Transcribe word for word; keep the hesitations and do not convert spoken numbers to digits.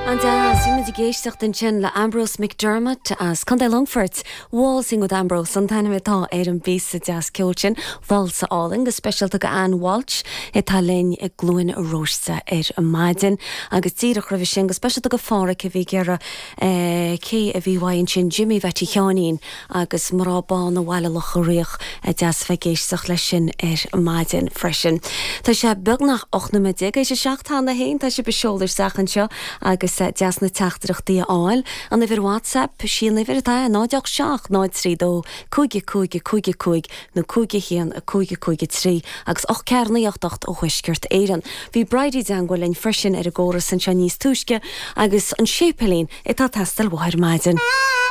An-deas, bhí muid ag éisteacht ansin le Ambrose McDermott as Contae Longfoirt, Waltzing with Ambrose an t-ainm atá ar an bpíosa deas ceoil sin válsa álainn go speisialta go Ann Walsh atá linn i gCluain Róiste ar maidin agus díreach roimhe sin go speisialta go Phádraic a bhí ag iarraidh eh, cé a bhí uaidh ansin Jimmy Bhetty Sheáinín agus Mná Bána Bhaile Locha Riach a deas bheith ag éisteacht leis sin ar maidin freisin. Tá sé beagnach ocht nóiméad déag théis a seacht cheana féin tá sibh ag seoladh isteach anseo agus eh, deas na teachtaireachtaí a fháil. An uimhir WhatsApp sí an uimhir atá náid ocht seacht náid trí dó cúig cúig cúig cúig nó cúig haon a cúig cúig trí agus ocht ceathair naoi ocht ocht ó Thuaisceart Éireann. Bhí Bridie i dteagmháil linn freisin ar an gcóras anseo níos túisce agus an séipéilín atá ag teastáil uaithi ar maidin.